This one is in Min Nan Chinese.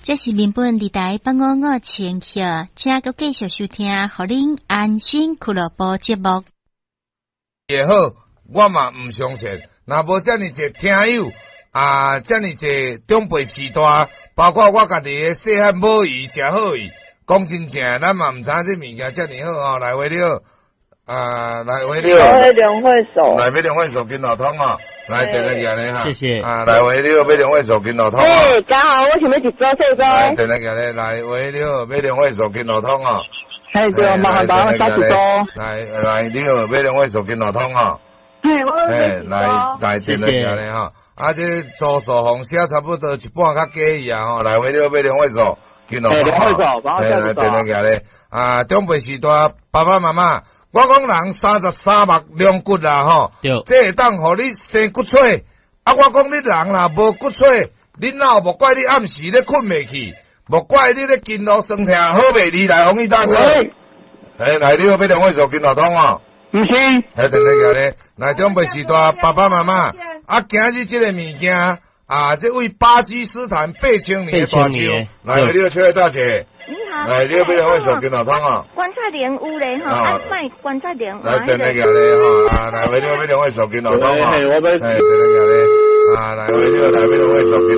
這是民本二台八五五千赫，請閣繼續收聽，予恁安心俱樂部節目。也好，我嘛毋相信，若無遮爾濟聽友啊，遮爾濟長輩序大，包括我家己的細漢母姨誠好伊，講真正，咱嘛毋知影這物件遮爾好吼。來喂，你好，啊，來喂，你好。我兩會數。來欲兩位數金路通哦，來電來舉咧哈。謝謝。啊，來喂，你好，欲兩位數金路通。欸，剛好我想欲一組細組。來電來舉咧，來喂，你好，欲兩位數金路通哦。嘿，對，麻煩幫我寫一組。來來，你好，欲兩位數金路通哦。嘿，我嘿，來來電來舉咧哈。啊，這周數紅寫差不多一半較過去啊吼。來喂，你好，欲兩位數金路通。兩位數，幫我寫一組。來電來舉咧，啊，長輩序大，爸爸媽媽。我講人33目龍骨啦吼，這會當予你生骨髓。啊，我講你人若無骨髓，你哪有莫怪你暗時咧睏袂去，莫怪你咧筋路酸痛好袂離來，王毅大哥。欸，來，你好，欲兩位數金路通哦。毋是。欸，等等咧，來長輩序大，爸爸媽媽，啊，今日這個物件啊，這位巴基斯坦8,000年的大樹，來，你好，秋葉大姐。你好。來，你好，欲兩位數金路通哦。關節靈有咧吼，啊，賣關節靈。來，等等咧吼，啊，來，喂，你好，欲兩位數金路通哦。欸，等等咧，啊，來，喂，你好，來，欲兩位數金。